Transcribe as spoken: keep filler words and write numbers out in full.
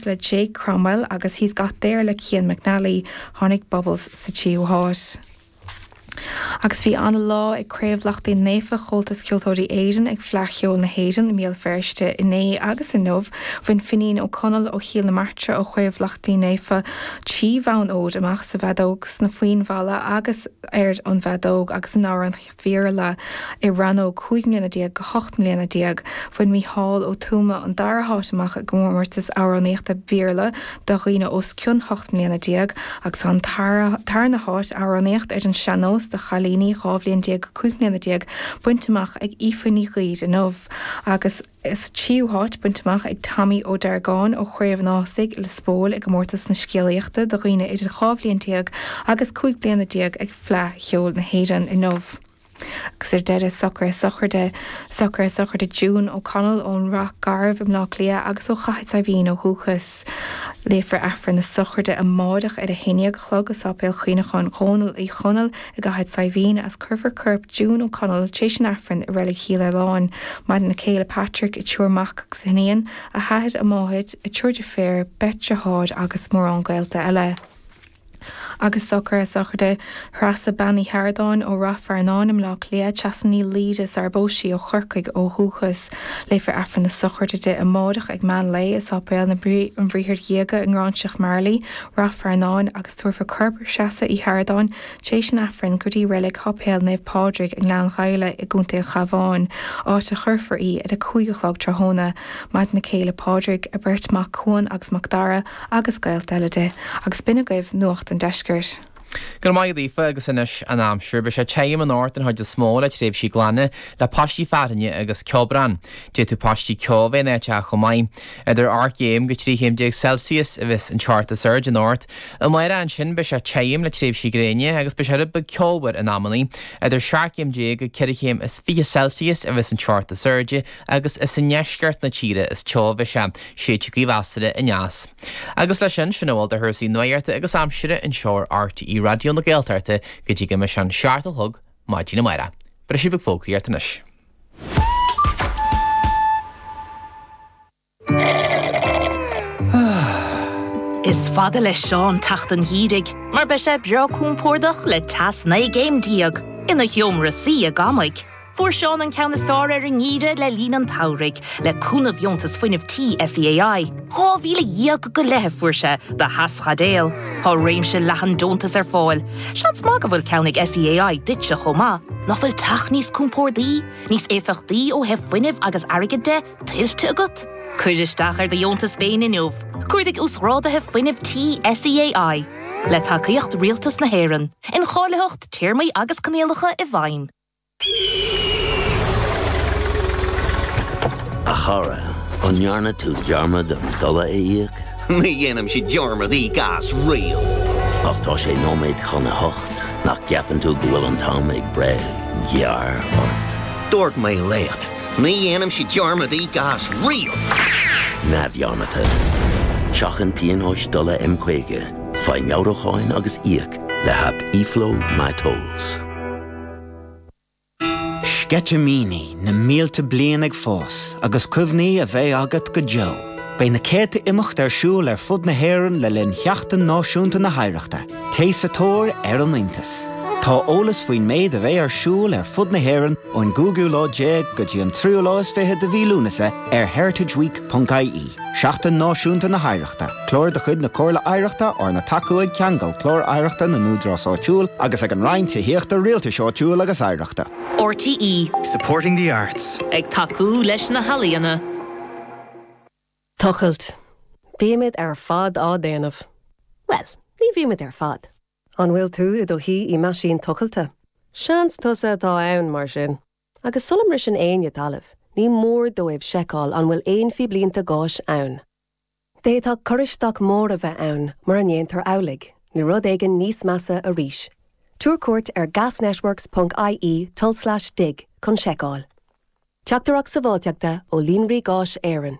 Dreams le Jake Cromwell agus He's Got There le Cian McNally. Tháinig Bubbles sa tríú háit. Agus bhí an-lá ag Craobh Lachtaín Naofa Chomhaltas Ceoltóirí Éireann ag Fleadh Cheoil na hÉireann i mBéal Feirste inné agus inniu. Bhain Finín Ó Conaill ó Chill na Martra ó Chraobh Lachtaín Naofa trí bhonn óir amach sa bhfeadóg sna foinn mhalla agus ar an bhfeadóg agus in amhránaíocht Bhéarla i rannóg cúig mbliana déag go hocht mbliana déag. Bhain Mícheál Ó Tuama an dara háit amach i gcomórtas amhránaíochta Béarla do dhaoine os cionn hocht mbliana déag agus an tarna háit amhránaíocht ar an sean-nós do chailíní dhá bhliain déag go cúig mbliana déag bainte amach ag Aoife Ní Ghaoir inniu agus is tríú háit bainte amach ag Tommy Ó Deargáin ó Chraobh an Ásaigh Lios Póil i gcomórtas na scéalaíochta do dhaoine idir dhá bhliain déag agus cúig bliana déag ag Fleadh Cheoil na hÉireann inniu. Agus ar deireadh socruithe sochraide socruithe sochraide June O'Connell ón Rath Garbh i mBleá Cliath agus ó Chathair Saidhbhín ó dhúchas. Léifear Aifreann na sochraide amárach ar a haon déag a chlog i Sáipéal Chuimhneacháin Dhónaill Uí Chonaill i gCathair Saidhbhín agus cuirfear corp June O'Connell tar éis an Aifrinn i Reilig Chill Aileáin. Maireann a céile Patrick, a triúr mac agus iníon, a hathair, a máthair, a triúr deirféar, beirt deartháir agus mórán gaolta eile. Agus socruithe sochraide Threasa Bean Uí Sheardáin ó Rath Fearnáin i mBleá Cliath, Treasa Ní Laoire sar a phós sí ó Chorcaigh ó dhúchas. Léifear Aifreann na sochraide di amárach ag meán lae i Sáipéal na an Bhriathair Dhiaga i nGráinseach Marlaí, Rath Fearnáin agus tabharfar corp Threasa Uí Sheardáin tar éis an Aifrinn go dtí reilig Sháipéal Naomh Pádraig i nGleann Ghaile i gContae an Chabháin, áit a chuirfear í ar a cúig a chlog tráthnóna. Maireann a céile Pádraig, a beirt mac Cuan agus Mac Dara agus gaolta eile di. Agus b'in agaibh nuacht an deiscirt. Go raibh maith agat Aoife agus anois an aimsir, beidh sé tirim anocht den chuid is mó le tréimhsí glana le paistí fearthainne agus ceobhrán. D'fhéadfadh paistí ceo a bheith in áiteacha chomh maith. Idir ocht gcéim go trí chéim déag Celsius a bheas an teocht is airde anocht. Amárach ansin beidh sé tirim le tréimhsí gréine agus beidh sé rud beag ceomhar in amannaí. Idir seacht gcéim déag go ceithre chéim is fiche Celsius a bheas an teocht is airde agus is i ndeisceart na tíre is teo a bheidh sé, séidfidh gaoth mheasartha aneas. Agus leis sin, sin a bhfuil de chúrsaí nuachta agus aimsire anseo ar RTÉ Raidió na Gaeltachta go dtí go mbeidh sé an seacht a chlog maidin amárach. Briseadh beag fógraíochta anois. Is fada le Seán teacht an gheimhridh mar beidh sé breá compordach le teas naoi gcéim déag ina sheomra suí i gCamaigh. Fuair Seán an ceann is fearr ar an ngeimhreadh le linn an tsamhraidh, le cúnamh Dheontas Fuinnimh Tí SEAI. Dhá mhíle dhéag go leith a fuair sé do theaschaidéal. Tá réimse leathan deontas ar fáil. Seans maith go bhfuil ceann ag SEAI duitse chomh maith. Nach bhfuil teach níos compórdaí, níos éifeachtaí ó thaobh fuinnimh agus airgid de, tuillte agat? Cuir isteach ar do dheontas féin inniu. Cuardaigh Uasghráduithe Fuinnimh Tí SEAI. Le tacaíocht Rialtas na hÉireann. Incháilitheacht, téarmaí agus coinníollacha i bhfeidhm. A chara, an ndearna tú dearmad an dola a íoc? Ní dhéanaimse dearmad íoc as riamh. Ach tá sé nóiméad chun a hocht, nach gceapann tú go bhfuil an t-am ag breith gearr ort? Dúirt mé leat, ní dhéanaimse dearmad íoc as riamh! Neamhdhearmadta. Seachain pionóis dola M caoga, faigh meabhrúcháin agus íoc le haip eFlow MyTolls. Sceitimíní na mílte bliain ag fás agus cuimhní a bheidh agat go deo. Beidh na céadta imeacht ar siúl ar fud na hÉireann le linn Sheachtain Náisiúnta na hOidhreachta. Téigh sa tóir ar an iontas! Tá eolas faoin méid a bheidh ar siúl ar fud na hÉireann ón gcúigiú lá déag go dtí an tríú lá is fiche de mhí Lúnasa ar heritageweek ponc ie. Seachtain Náisiúnta na hOidhreachta, clár de chuid na Comhairle Oidhreachta arna tacú ag Ceangal Clár Oidhreachta na nÚdarás Áitiúil agus ag an Roinn Tithíochta, Rialtais Áitiúil agus Oidhreachta. RTÉ. Supporting the arts. Ag tacú leis na healaíona. Tochailt. Bímid ar fad á déanamh. Bhuel, ní bhímid ar fad. An bhfuil tú i do shuí i meaisín tochailte? Seans tusa atá ann, mar sin. Agus sula mbriseann éinne talamh, ní mór dóibh seiceáil an bhfuil aon phíblínte gáis ann. D'fhéadfadh cur isteach mór a bheith ann mura ndéantar amhlaidh, nó rud éigin níos measa arís. Tabhair cuairt ar gasnetworks ponc ie tulslais dig chun seiceáil. Teachtaireacht sábháilteachta ó Líonraí Gáis Éireann.